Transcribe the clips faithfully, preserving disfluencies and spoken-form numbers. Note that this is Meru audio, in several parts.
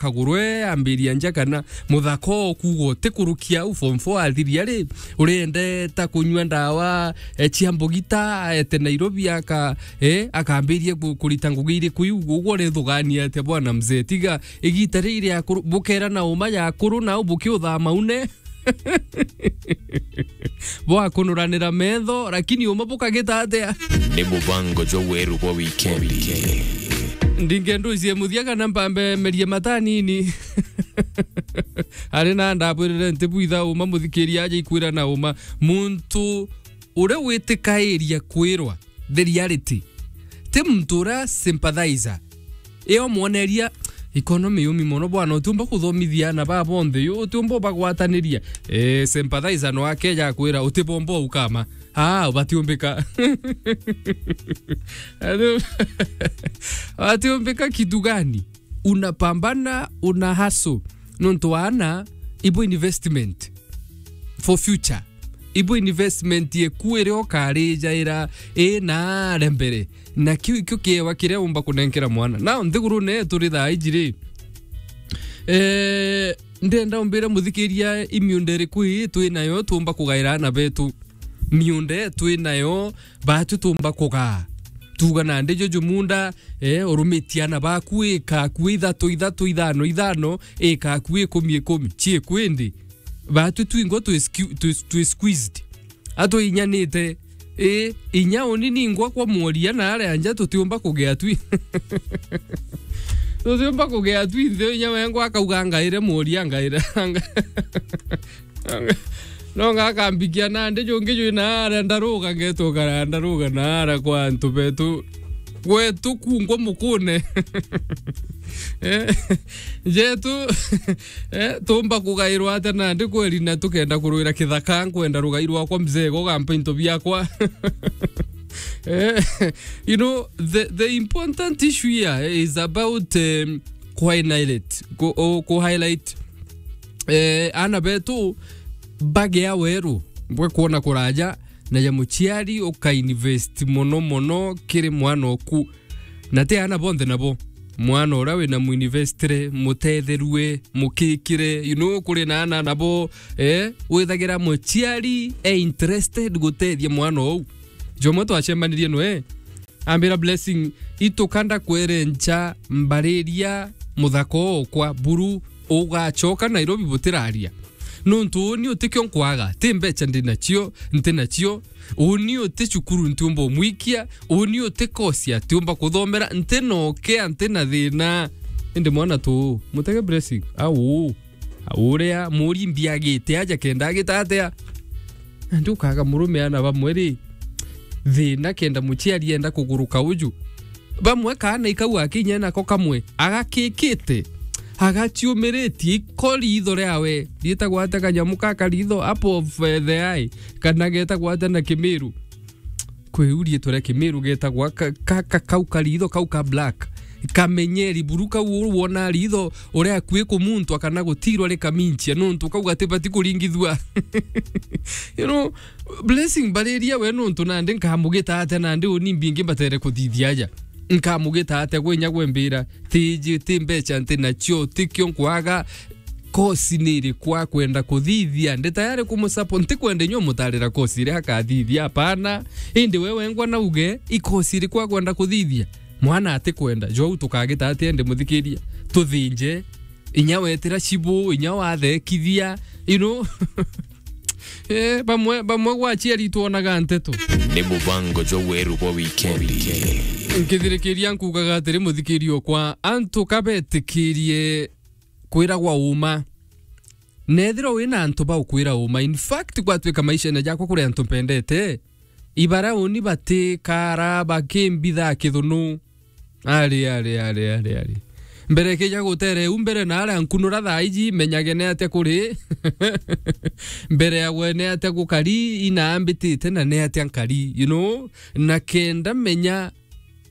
kaguru e ambiria nja kana muthaka o kuuga utikurukia au form four athiria ri, urenda ta kunyua ndawa, e, cia mbugita, aete Nairobi aka, e, akambiria ku-, kurita ngugi iriku iu, uguo urethugania atia bwana mzee? Tiga igita riri akuru, bukera na uma ya akuru nao bukiuthama une. Bwakunuranira metho, lakini uma bukagita atia? Ni mubango jwa weru bwa wikendi. Ndingendo icie muthia kana mpambe merie mata nini. Ari na ndabwirire nti bwitha uma muthikiria aja ikwira na uma. Muntu uria witikairia kwirwa the reality. Ti muntu uria sympathizer. Iyo mwoneria economy yumi mono bwana, utiumba kuthomithia ana baa bonthe, yu utiumba ubagwataniria. Eh, sympathizer no akeja akwira, utibomba ukama. Ah, batiumbika. Ati-, batiumbika kitu gani? Unapambana, una hustle. Nontu ana, ibo investment for future. Ibo investment yeku iria ukarijaira i naare mbere. Na kiu ikio kiewa kiria umba kunenkera mwana. Now, nthigurune turi thaa iji ri, eh, ndenda umbire muthikiria i miunda iriku ii twi nayo tuumba kugaira ana betu. Miunda twi nayo batu tuumba kugaa. Tuuga nandi juju munda, eh, urumitie ana baku ika akui ithatu, ithatu, ithano, ithano, ika akui ikumi, ikumi. Cii kwindi? Batu twingwa twi sque-, twi, twi squeezed. Atwinyanite. Ii, inya uni ningwa kwa mworia na aria nja tutiumba kugea twi. Tutiumba kugea twi nthi, inya wengwa akauga, "Ngaire mworia, ngaire." No ngakambikia nandi jungi jwi na aria ndaruga, ngetwo kara ndaruga na aria kwa antu betu. Gwetu kungwa mukune. Eh, jetu, eh, tumba kugairwa atia nandi kweri, na tukenda kurwira kithaka, nkwenda rugai rwakwa mzee, gogampa into biakwa. Eh, you know, the, the important issue here is about, um, ku highlight, ku, o, ku highlight, eh, ana betu bagea weru bwa kwona kuraja, na ja muciari uka invest mono mono kiri mwana oku. Na ti ana bonthe nabo. Mwana uria wina muinvestire, mutetherue, mukikire, you know, kuri na ana nabo, eh, withagira muciari e interested gutethia mwana ou. Jomwe twacemanirie nwe, ambira, "Blessing, itukanda kwere ncha mbariria muthaka okwa buru ugachoka Nairobi butiraria. Nontu uni utikio nkwaga, ti mbecha ndi nacio, nti nacio, uni uti cukuru ntiumba umwikia, uni uti kosi atiumba kuthomera, nti na ukea, nti na thina." Indi mwana tu, mutege Blessing, au, au uria muri mbiagite aja kenda agita atia? Nandi ukaga murume ana bamwe ri, thina kenda muciari enda kuguruka uju. Bamwe kaana ikau akinya nako kamwe, agakikite, agaciumiritie iko riitho riawe, riitagwa atia kanyamu ka karitho, apple of, eh, the eye, kana getagwa atia na Kimiru? Kwi u riitwa ria Kimiru getagwa ka, ka, ka, kau karitho, kau ka black. Kamenyeri buru kau uru wona riitho, uria akui kumuntwa kana gutirwa rikaminchia, nontu kau gatibati kuringithua. You know, Blessing mbariria we nontu nandi nkamugita atia nandi uni mbingi mbatere kuthithia aja? Nkamugita atia gwe inya gwe mbira, tiji, ti mbecha nti nacio, tikio nkwaga, kosi ni iriku akwenda kuthithia? Ndi tayari kumusupport, ntikwenda inywe mutarira kosi iria akathithia, apana. Indi we wengwa nauge, i kosi iriku akwenda kuthithia? Mwana atikwenda, jwau tukagita atia indi muthikiria? Tuthinje, inya wetira cibu, inya wathekithia, you know. Eh, bamwe, bamwe gwa aciari twonaga nteto. Ni mubango jwa weru bwa wikendi. Nkithirikiria nkugaga atiri, muthikiria okwa, antu kabetikirie kwiragwa uma. Nethirwa wina antu baukwira uma. In fact, gwatwika maishene jakwa kuri antu mpendete, ibara uni batikara bakimbitha kithunu. Ari, ari, ari, ari, ari. Mbere kija gutere u mbere na aria nkunura thaa iji, menyage ni atia kuri. Mbere ya gwe ni atia gukari, inaambitite na ni atia nkari, you know? Na kenda menya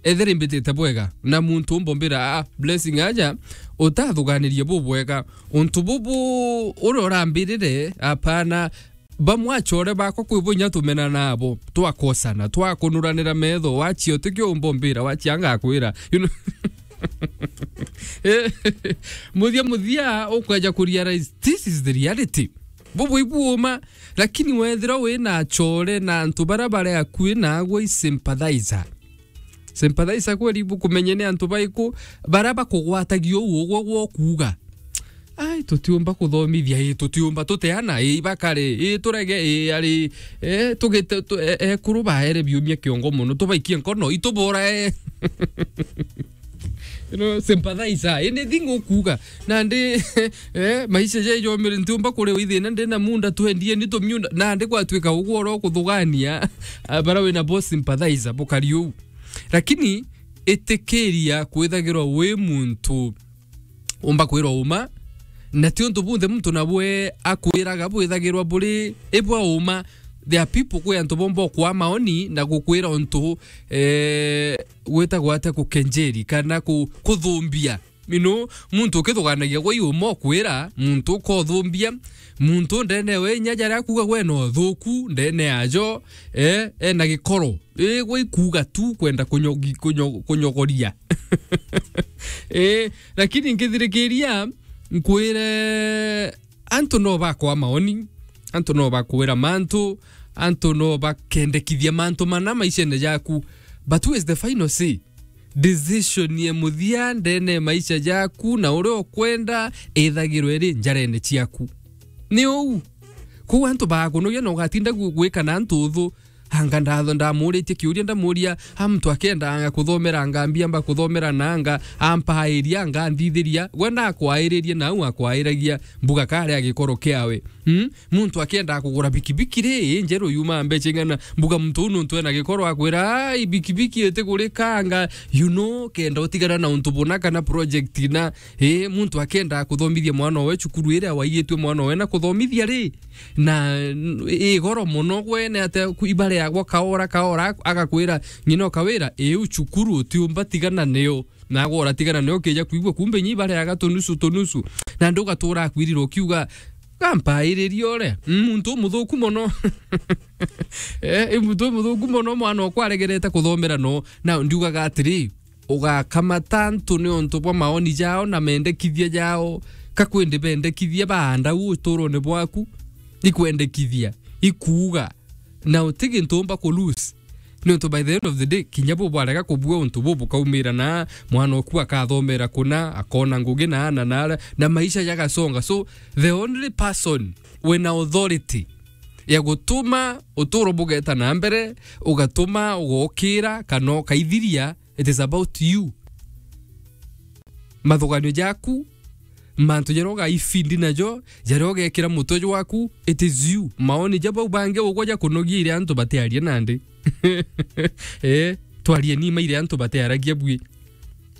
ethira imbitite bwega, na muntu umbombira, "Ah, Blessing aja, utathuganirie bubwega. Untu bubu uria urambirire, apana." Bamwe achore bakwa kwi bo inya tumena nabo, twakosana, twakunuranira metho, wachia utikio umbombira, wachia ngakwira. You know? Eh, muthia muthia ukweja ku realize this is the reality. Bubu ibu uma, lakini wethira wina achore na antu bara bari akui na agwe i sympathizer. Sympathizer kweli ibu kumenye ni antu baiku bara bakugwatagia uu ugwe gwa kuuga. Ai, tutiumba kuthomithia, ii, tutiumba tuteana, ii, ibakare, ii, turege, ii, ari, eh, tugite, tu-, e-, ekuru baere biumia kiongo mono, tubaikie nkono, itubora, eh. You know, sympathizer, anything ukuuga. Nandi, eh, maisha jejomire, ntiumba kuri withina, ndina munda, twendie ni tumiunda, nandi gwatuika ugwo oro kuthugania, ah, bara wina bo sympathizer, bukari uu. Lakini, itikiria kwithagirwa wi muntu umba kwirwa uma, na ti untu bunthe muntu nabwe akwiraga bwithagirwa buri ibwa uma. There are people, kwi antu bomba ukwa maoni na gukwira untu, eh, gwitagwa atia, kukenjeri kana ku-, kuthumbia. You know, muntu ukithuganagia gwe i uma ukwira, muntu ukothumbia, muntu ndene we inya jaria akuga gwe no thuku, ndene ajo, eh, ena gikoro. Ii, gwe ikuuga tu kwenda kunyogi-, kunyo-, kunyogoria. Ii, lakini nkithirikiria, nkwire, antu no bakwa maoni, antu no bakwira mantu, antu no bakendekithia mantu mana maishene jaku. But who is the final say? Decision ya muthia ndene ya maisha jaku na uria ukwenda ithagirwe iri njarene ciaku. Ni uu. Kwou antu bakunugia na ugatinda gwi-, gwika na antu uthu. Anga ndatho ndamuritie kiuria, ndamuria, a muntu akenda anga kuthomera, anga mbiamba kuthomera na anga ampairia, anga nthithiria, gwe ndakwairirie na au akwairagia mbuga kare a gikoro kiawe. Hmm? Muntu akenda kugura bikibiki ri, i njeru yuma mbecha ing'ana, mbuga muntu uu nuntu ena gikoro akwira, ai, bikibiki itigurika anga, you know, kenda utigana na untu buna kana project na, i, muntu akenda kuthomithia mwana owe cukuru iria waigitue mwana owe na kuthomithia ri, na n-, i goro mono gwene ate ku-, ibare yagwa kaora kaora, agakwira, ng'ina ukawira, iu cukuru utiumba tigana niyo. Nagwe uratigana nayo ukija kwigua kumbe nyi bareaga tunusu tunusu. Na ndugatura akwirira ukiuga, "Gampairirie uria. Mm, muntu umuthuku mono." Eh, i muntu umuthuku mono, mwana okwa aregerete kuthomera no. Na ndiugaga atiri, ugakamata antu ni untu bwa maoni jao na mendekithia jao. Ka kwindi bendekithia baanda u uturone bwaku. Ikwendekithia, ikuuga. Na uti gintu umba ku lose. Niuntu by the end of the day, kinya bo bwarega kubua untu bu bukaumira na mwana oku akathomera kuna, akona ngugi na ana na ara, na maisha jagasonga. So, the only person wina authority ya gutuma uturo bugeta na mbere, ugatuma ugokira, kana ukaithiria, it is about you. Mathuganio jaku, mantu jaria ugaifindi najo, jaria ugekira mutwe jwaku, it is you. Maoni ja bau bangi ugwe jakunogia iria antu batiaria nandi. Eh, twarie nima iria antu batiaragia bui.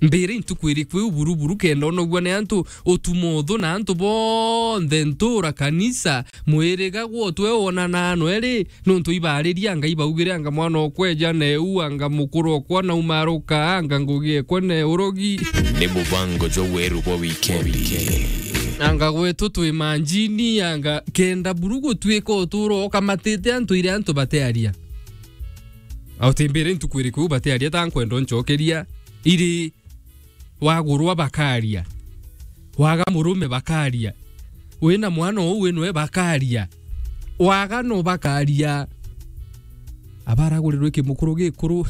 Mbere ntuku iriku iu buruburu kenda unogua ni antu, utuma uthu na antu bonthe, ntura, kanisa, mwiriga, gwotwe wonanaa nwe ri, nuntu ibaariria anga ibaugire anga mwana okwa eja na eu, anga mukuru okwa na umaruka, anga ngugi ekwa na urogi. Ni mubango jwa weru bwa wikendi. Anga gwetu twi manjini, anga kenda buru gutuika uturo ukamatite antu iria antu batearia. Au ti mbere ntuku iriku iu batearia ta nkwenda uncokeria iri. Wagurwa bakaria. Waga murume bakaria. Wina mwana uu winwe bakaria. Waga no bakaria. Abaragurirwe kimukuru gikuru.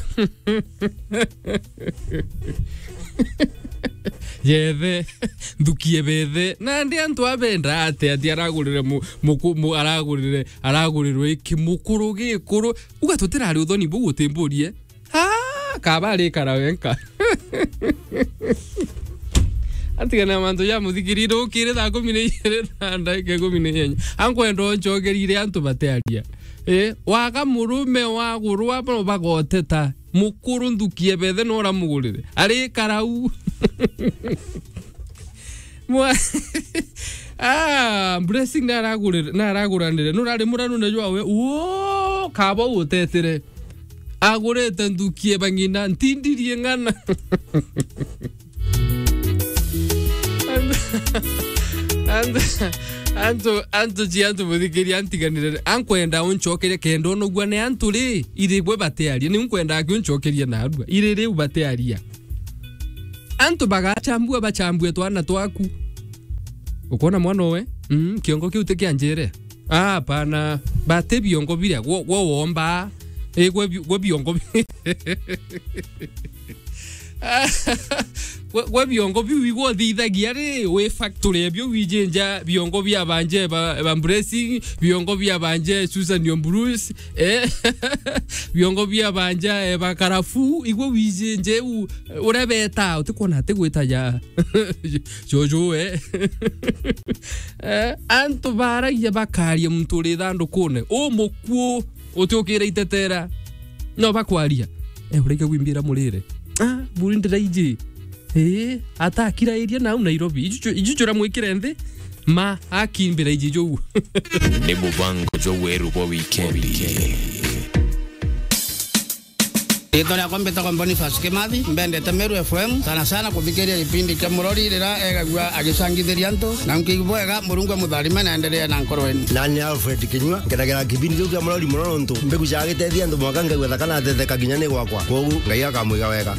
Yethe. Nthukie bethe. Nandi antu abenda ate ati aragurire mu-, muku-, mu-, aragurire, aragurirwe kimukuru gikuru. Uga tutirari uthoni buu utimburie. Ah, kaba arikara wenka. Atigana na mantu ja muthikirire ukire thaa kumi na igiri na ndagika ikumi na inyanya. Ankwenda uncokerire antu batearia. Eh, waga murume wagurwa no bagoteta. Mukuru nthukie bethe no uramugurire. Arikara u. Mwa-, ah, Blessing naragurire, naraguranire. Nurari muranu na jwawe. Uo, kaba utetire. Agurite nthukie bang'ina, ntindirie ng'ana. Antu, antu, antu, antu ci antu muthikiria antiganire. Ankwenda uncokerie kenda unogua ni antu ri, iri bwe batearia. Ni nkwenda aki uncokerie narua. Iri riu batearia. Antu bagachambua, bachambue twana twaku. Ukwona mwana uwe? Mm, kiongo kiu ti kia njere. Ah, hapana. Bati biongo biria, gwo, gwo womba. Eh, gwe bi-, gwe biongo bi-, gwe, gwe biongo biu igwo thithagia ri, wi factory ebio wijinja biongo bia banje ba, ba Mburesi, biongo bia banje Susan Ombrus, eh, biongo bia banja, eh, ba Karafu, igwo wijinje u, urebeta, utikwona ati gwita ja. Jojo, eh. Eh, antu baragia bakaria muntu uri thandukune. U mukuu, utiukira itetera. No bakwaria. Eh, ureke gwimbira murire. Ah, buri ndiraiji. Eh, atakira iria nau Nairobi. Ijuju, ijuju ra mwikire nthi. Ma, akimbira iji jou. Ni mubango jwa weru bwa wikendi. Riitwa riakwa mbitagwa Boniface Kimathi, mbendete Meru F M, sana sana kuthikiria gipindi kia Murori rira egagua agicangithiria antu, na nkiigua bwega, Murungu amutharime na endelee na nkoro yenu. Nani Alfred Kinyua, nkenagira kipindi kiu kia Murori mono nontu mbigucaga gitethia antu mwanka ngaigua thaka na ateteka kinya ni gwakwa. Kwogu Ngai akamwiga wega.